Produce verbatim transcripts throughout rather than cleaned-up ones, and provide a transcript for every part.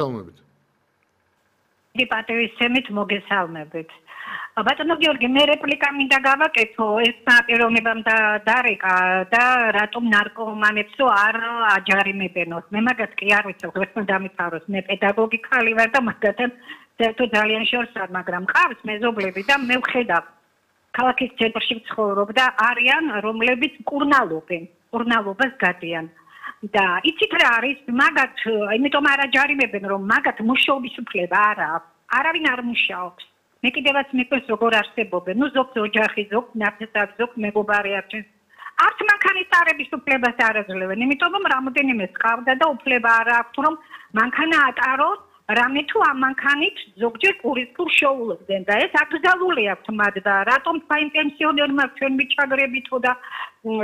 მოგესალმებით. დიდი პატივისცემით მოგესალმებით. ბატონო გიორგი, მე რეპლიკა მინდა გავაკეთო, ეს პიროვნებამ დარეკა და რატომ ნარკომანებსო არ აჯარიმებენოს. მე მაგას კი არ ვიცი, ღირსმა დამიფაროს. მე პედაგოგი ხალი ვარ და მაგათთან საერთოდ ძალიან შორს არ, მაგრამ ყავს მეზობლები და მე ვხედავ. ქალაქის ცენტრში ვცხოვრობ და არიან, რომლებიც კურნალობენ, კურნალობას გადიან. და იცით რა არის, მაგათ, იმიტომ არ აჯარიმებენ, რომ მაგათ მუშაობის უფლება არ აქვს. არავინ არ მუშაობს. მე კიდევაც მიყვეს როგორ არსებობენ. ნუ ზოგ ოჯახი, ზოგ ნაფსად, ზოგ მეგობარი არჩევს. არც მანქანის წარების უფლებას არ აძლევენ, იმიტომ რომ რამოდენიმე სყავდა და უფლება არ აქვს, რომ მანქანა ატაროს, რამე თუ ამ მანქანით ზოგჯერ პურის ფულს შეულებდნენ და ეს აკრძალული აქვს მათ და რატომ თქვენ პენსიონერმა ჩვენ მიჩაგრებითო და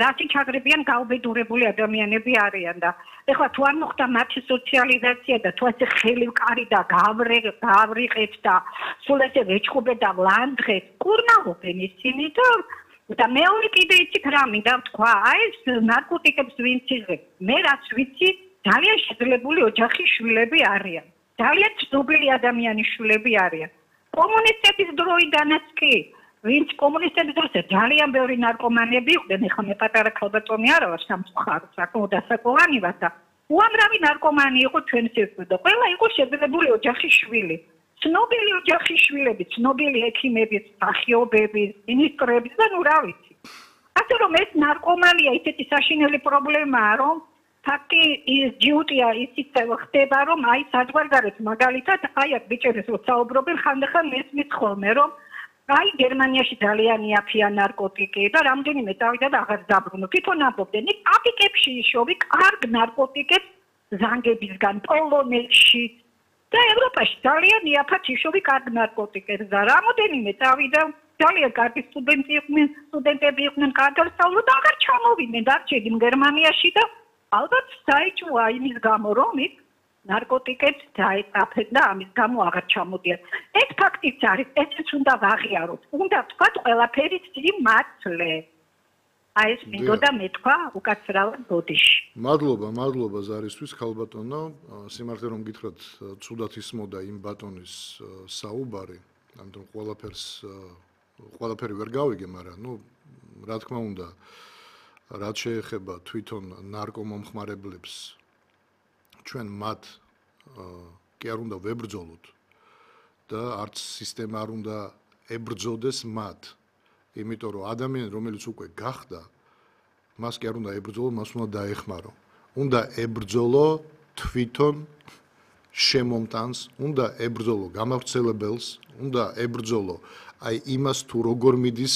რასი ჩაგრებიან გაუბედურებული ადამიანები არიან და ეხლა თუ არ მოხდა მათი სოციალიზაცია და თუ ასე ხელი ვკარი და გავრე გავრიყეთ და სულ ესე ვეჭხობენ და ვლანდღეთ კურნალობენ ისინი და და მეორე კიდე იცით რა მინდა ვთქვა აი ეს ნარკოტიკებს ვინც იღებს მე რაც ვიცი ძალიან შეძლებული ოჯახის შვილები არიან ძალიან ცნობილი ადამიანის შვილები არიან. კომუნისტების დროიდანაც კი, ვინც კომუნისტების დროს ძალიან ბევრი ნარკომანები იყვნენ, ეხლა მე პატარა ქალბატონი არა ვარ, სამწუხაროდ, საკმაოდ დასაკვანი ვარ და უამრავი ნარკომანი იყო ჩვენ სიკვდილი და ყველა იყო შეძლებული ოჯახის შვილი. ცნობილი ოჯახის შვილები, ცნობილი ექიმები, მსახიობები, მინისტრები და ნუ რა ვიცი. ასე რომ ეს ნარკომანია ისეთი საშინელი პრობლემაა, რომ ფაქტი ის ჯიუტია ისიც ხდება რომ აი საზღვარგარეთ მაგალითად აი აქ ბიჭებს რო საუბრობენ ხანდახან მესმის ხოლმე რომ აი გერმანიაში ძალიან იაფია ნარკოტიკი და რამდენიმე წავიდა და აღარ დაბრუნო თვითონ ამბობდნენ იქ აფიკებში იშოვი კარგ ნარკოტიკებს ზანგებისგან პოლონეთში და ევროპაში ძალიან იაფად იშოვი კარგ ნარკოტიკებს და რამდენიმე წავიდა ძალიან კარგი სტუდენტი იყვნენ სტუდენტები იყვნენ კარგავსწავლო და აღარ ჩამოვიდნენ დარჩენილ გერმანიაში და ალბათ საიჭმოა იმის გამო, რომ იქ ნარკოტიკებს დაეწაფენ და ამის გამო აღარ ჩამოდიან. ეს ფაქტიც არის, ესეც უნდა ვაღიაროთ. უნდა ვთქვათ ყველაფერი სიმართლე. აი ეს მინდოდა მეთქვა უკაცრავად ბოდიში. მადლობა, მადლობა ზარისთვის, ქალბატონო. სიმართლე რომ გითხრათ, ცუდად ისმოდა იმ ბატონის საუბარი, ამიტომ ყველაფერს ყველაფერი ვერ გავიგე, მაგრამ ნუ რა თქმა უნდა რაც შეეხება თვითონ ნარკომომხმარებლებს ჩვენ მათ კი არ უნდა ვებრძოლოთ და არც სისტემა არ უნდა ებრძოდეს მათ იმიტომ რომ ადამიანი რომელიც უკვე გახდა მას კი არ უნდა ებრძოლო მას უნდა დაეხმარო უნდა ებრძოლო თვითონ შემომტანს უნდა ებრძოლო გამავრცელებელს უნდა ებრძოლო აი იმას თუ როგორ მიდის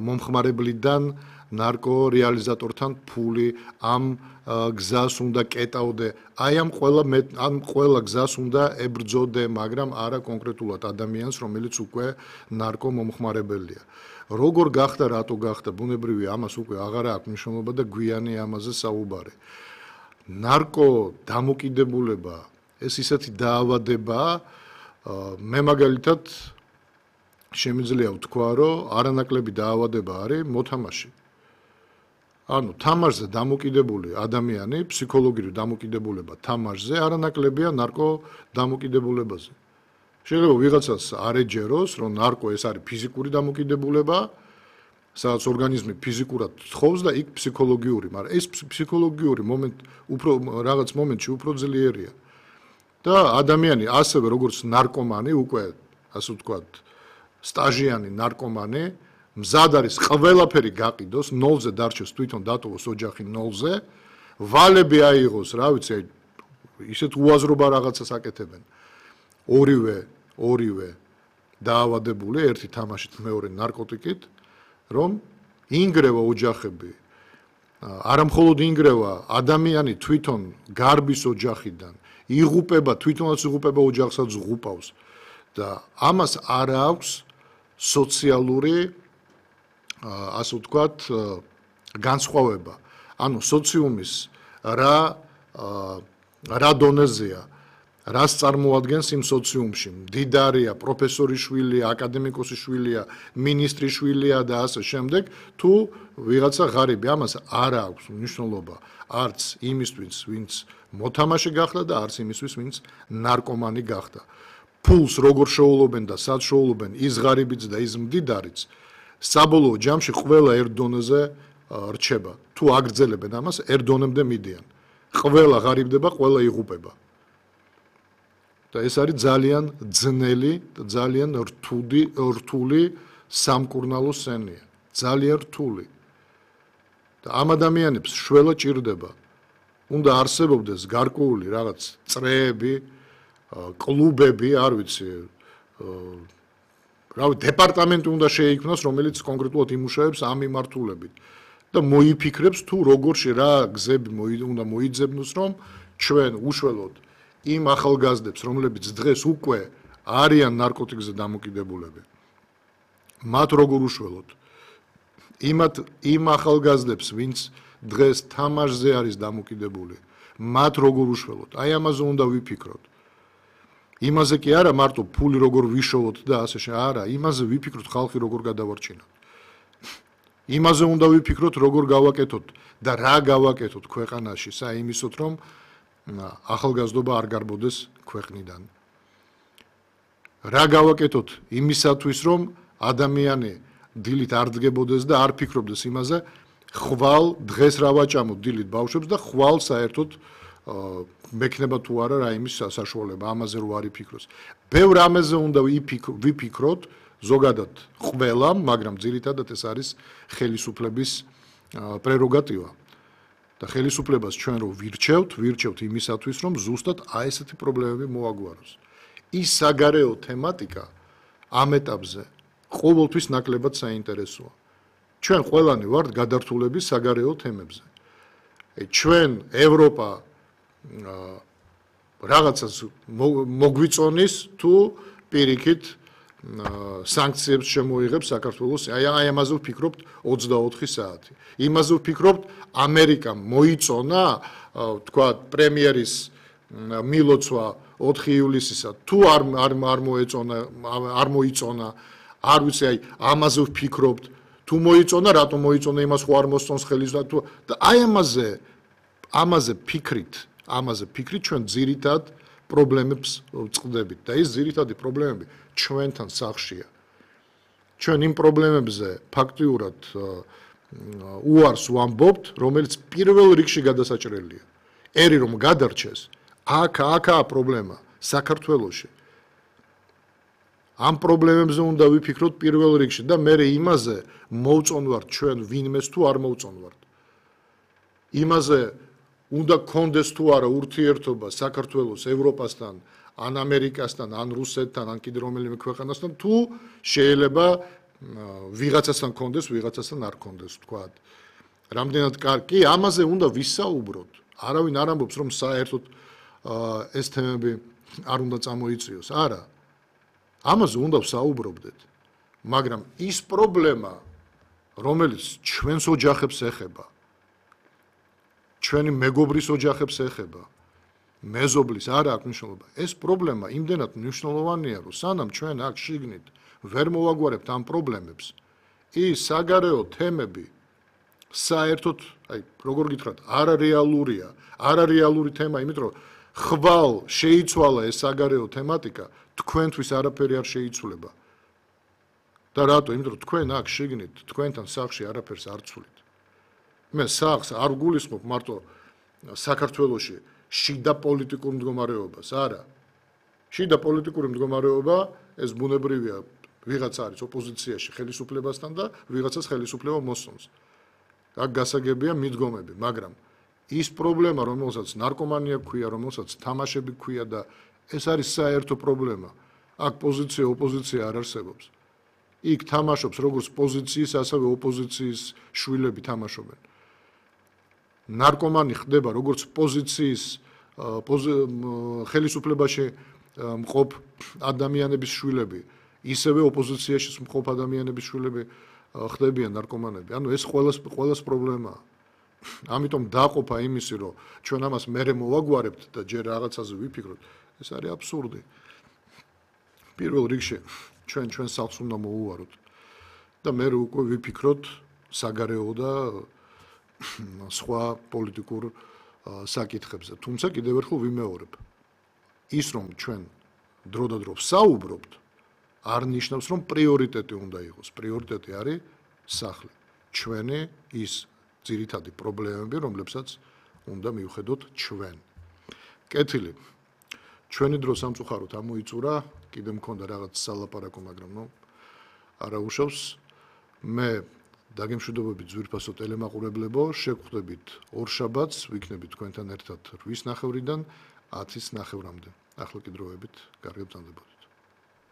მომხმარებლიდან ნარკო რეალიზატორთან ფული ამ გზას უნდა კეტავდე აი ამ ყველა ამ ყველა გზას უნდა ებრძოდე მაგრამ არა კონკრეტულად ადამიანს რომელიც უკვე ნარკო მომხმარებელია როგორ გახდა რატო გახდა ბუნებრივია ამას უკვე აღარ აქვს მნიშვნელობა და გვიანი ამაზე საუბარი ნარკო დამოკიდებულება ეს ისეთი დაავადებაა მე მაგალითად შემიძლია ვთქვა რომ არანაკლები დაავადება არის მოთამაში ანუ თამაშზე დამოკიდებული ადამიანი ფსიქოლოგიური დამოკიდებულება თამაშზე არანაკლებია ნარკო დამოკიდებულებაზე. შეიძლება ვიღაცას არ ეჯეროს, რომ ნარკო ეს არის ფიზიკური დამოკიდებულება, სადაც ორგანიზმი ფიზიკურად თხოვს და იქ ფსიქოლოგიური, მაგრამ ეს ფსიქოლოგიური მომენტ უფრო რაღაც მომენტში უფრო ძლიერია. და ადამიანი ასევე როგორც ნარკომანი, უკვე ასე ვთქვათ, სტაჟიანი ნარკომანი მზად არის ყველაფერი გაყიდოს, ნოლზე დარჩეს თვითონ დატოვოს ოჯახი ნოლზე, ვალები აიღოს, რა ვიცი, ისეთ უაზრობა რაღაცას აკეთებენ. ორივე, ორივე დაავადებული, ერთი თამაშით, მეორე ნარკოტიკით, რომ ინგრევა ოჯახები. არა მხოლოდ ინგრევა, ადამიანი თვითონ გარბის ოჯახიდან, იღუპება, თვითონაც იღუპება ოჯახსაც ღუპავს და ამას არ აქვს სოციალური ასე ვთქვათ, განსხვავება. ანუ სოციუმის რა რა დონეზეა, რას წარმოადგენს იმ სოციუმში. მდიდარია, პროფესორის შვილია, აკადემიკოსის შვილია, მინისტრის შვილია და ასე შემდეგ, თუ ვიღაცა ღარიბი, ამას არ აქვს მნიშვნელობა არც იმისთვის, ვინც მოთამაშე გახდა და არც იმისთვის, ვინც ნარკომანი გახდა. ფულს როგორ შეულობენ და სად შეულობენ ის ღარიბიც და ის მდიდარიც, საბოლოო ჯამში ყველა ერთ დონეზე რჩება. თუ აგრძელებენ ამას, ერთ დონემდე მიდიან. ყველა ღარიბდება, ყველა იღუპება. და ეს არის ძალიან ძნელი და ძალიან რთული, რთული სამკურნალო სცენია. ძალიან რთული. და ამ ადამიანებს შველა ჭირდება. უნდა არსებობდეს გარკვეული რაღაც წრეები, კლუბები, არ ვიცი, რავი, დეპარტამენტი უნდა შეიქმნას, რომელიც კონკრეტულად იმუშავებს ამ მიმართულებით და მოიფიქრებს თუ როგორში რა გზები უნდა მოიძებნოს, რომ ჩვენ უშველოდ იმ ახალგაზრდებს, რომლებიც დღეს უკვე არიან ნარკოტიკზე დამოკიდებულები, მათ როგორ უშველოდ იმათ იმ ახალგაზრდებს, ვინც დღეს თამაშზე არის დამოკიდებული, მათ როგორ უშველოდ, აი ამაზე უნდა ვიფიქროთ. იმაზე კი არა მარტო ფული როგორ ვიშოვოთ და ასე შე, არა, იმაზე ვიფიქროთ ხალხი როგორ გადავარჩინოთ. იმაზე უნდა ვიფიქროთ როგორ გავაკეთოთ და რა გავაკეთოთ ქვეყანაში, საიმისოთ რომ ახალგაზრდობა არ გარბოდეს ქვეყნიდან. რა გავაკეთოთ იმისათვის რომ ადამიანი დილით არ დგებოდეს და არ ფიქრობდეს იმაზე, ხვალ დღეს რა ვაჭამოთ დილით ბავშვებს და ხვალ საერთოდ მექნება თუ არა რა იმის საშუალება, ამაზე რო არ იფიქროს. ბევრ ამაზე უნდა ვიფიქროთ, ზოგადად ყველამ, მაგრამ ძირითადად ეს არის ხელისუფლების პრეროგატივა. და ხელისუფლებას ჩვენ რო ვირჩევთ, ვირჩევთ იმისათვის, რომ ზუსტად აი ესეთი პრობლემები მოაგვაროს. ის საგარეო თემატიკა ამ ეტაპზე ყოველთვის ნაკლებად საინტერესოა. ჩვენ ყველანი ვართ გადართულები საგარეო თემებზე. ჩვენ ევროპა რაღაცას მოგვიწონის თუ პირიქით სანქციებს შემოიღებს საქართველოს. აი აი ამაზე ვფიქრობთ ოცდაოთხი საათი. იმაზე ვფიქრობთ ამერიკამ მოიწონა, თქვა პრემიერის მილოცვა ოთხი ივლისისა, თუ არ არ არ მოეწონა, არ მოიწონა, არ ვიცი, აი ამაზე ვფიქრობთ, თუ მოიწონა, რატომ მოიწონა, იმას ხო არ მოსწონს ხელის და თუ და აი ამაზე ამაზე ფიქრით, ამაზე ფიქრით ჩვენ ძირითად პრობლემებს ვწყდებით და ეს ძირითადი პრობლემები ჩვენთან სახლშია. ჩვენ იმ პრობლემებზე ფაქტიურად უარს ვამბობთ, რომელიც პირველ რიგში გადასაჭრელია. ერი რომ გადარჩეს, აქ აქაა პრობლემა საქართველოში. ამ პრობლემებზე უნდა ვიფიქროთ პირველ რიგში და მე იმაზე მოვწონვართ ჩვენ ვინმეს თუ არ მოვწონვართ. იმაზე უნდა გქონდეს თუ არა ურთიერთობა საქართველოს ევროპასთან, ან ამერიკასთან, ან რუსეთთან, ან კიდე რომელიმე ქვეყანასთან, თუ შეიძლება ვიღაცასთან გქონდეს, ვიღაცასთან არ გქონდეს, თქვათ. რამდენად კარგი, ამაზე უნდა ვისაუბროთ. არავინ არ ამბობს, რომ საერთოდ ეს თემები არ უნდა წამოიწიოს. არა. ამაზე უნდა ვსაუბრობდეთ. მაგრამ ის პრობლემა, რომელიც ჩვენს ოჯახებს ეხება, ჩვენი მეგობრის ოჯახებს ეხება, მეზობლის არ აქვს მნიშვნელობა. ეს პრობლემა იმდენად მნიშვნელოვანია, რომ სანამ ჩვენ აქ შიგნით ვერ მოვაგვარებთ ამ პრობლემებს, ის საგარეო თემები საერთოდ, აი, როგორ გითხრათ, არარეალურია, არარეალური თემა, იმიტომ რომ ხვალ შეიცვალა ეს საგარეო თემატიკა, თქვენთვის არაფერი არ შეიცვლება. და რატო? იმიტომ რომ თქვენ აქ შიგნით, თქვენთან სახლში არაფერს არ ცვლით. მე სახლს არ გულისხმობ მარტო საქართველოში შიდა პოლიტიკურ მდგომარეობას, არა. შიდა პოლიტიკური მდგომარეობა ეს ბუნებრივია, ვიღაც არის ოპოზიციაში ხელისუფლებასთან და ვიღაცას ხელისუფლება მოსწონს. აქ გასაგებია მიდგომები, მაგრამ ის პრობლემა, რომელსაც ნარკომანია გვქვია, რომელსაც თამაშები გვქვია და ეს არის საერთო პრობლემა. აქ პოზიცია, ოპოზიცია არ არსებობს. იქ თამაშობს როგორც პოზიციის, ასევე ოპოზიციის შვილები თამაშობენ. ნარკომანი ხდება როგორც პოზიციის ხელისუფლებაში მყოფ ადამიანების შვილები, ისევე ოპოზიციაში მყოფ ადამიანების შვილები ხდებიან ნარკომანები. ანუ ეს ყველას ყველას პრობლემაა. ამიტომ დაყოფა იმისი, რომ ჩვენ ამას მერე მოვაგვარებთ და ჯერ რაღაცაზე ვიფიქროთ, ეს არის აბსურდი. პირველ რიგში ჩვენ ჩვენ სახლს უნდა მოუვაროთ და მე უკვე ვიფიქროთ საგარეო და სხვა პოლიტიკურ საკითხებზე. თუმცა კიდევ ერთხელ ვიმეორებ. ის რომ ჩვენ დრო და დრო ვსაუბრობთ, არ ნიშნავს რომ პრიორიტეტი უნდა იყოს. პრიორიტეტი არის სახლი. ჩვენი ის ძირითადი პრობლემები, რომლებსაც უნდა მივხედოთ ჩვენ. კეთილი. ჩვენი დრო სამწუხაროდ ამოიწურა, კიდე მქონდა რაღაც სალაპარაკო, მაგრამ ნუ არა უშავს. მე დაგემშვიდობებით ძვირფასო ტელემაყურებლებო, შეგხვდებით ორშაბათს, ვიქნებით თქვენთან ერთად რვის ნახევრიდან ათის ნახევრამდე. ახლა კი დროებით, კარგად ბრძანდებოდეთ.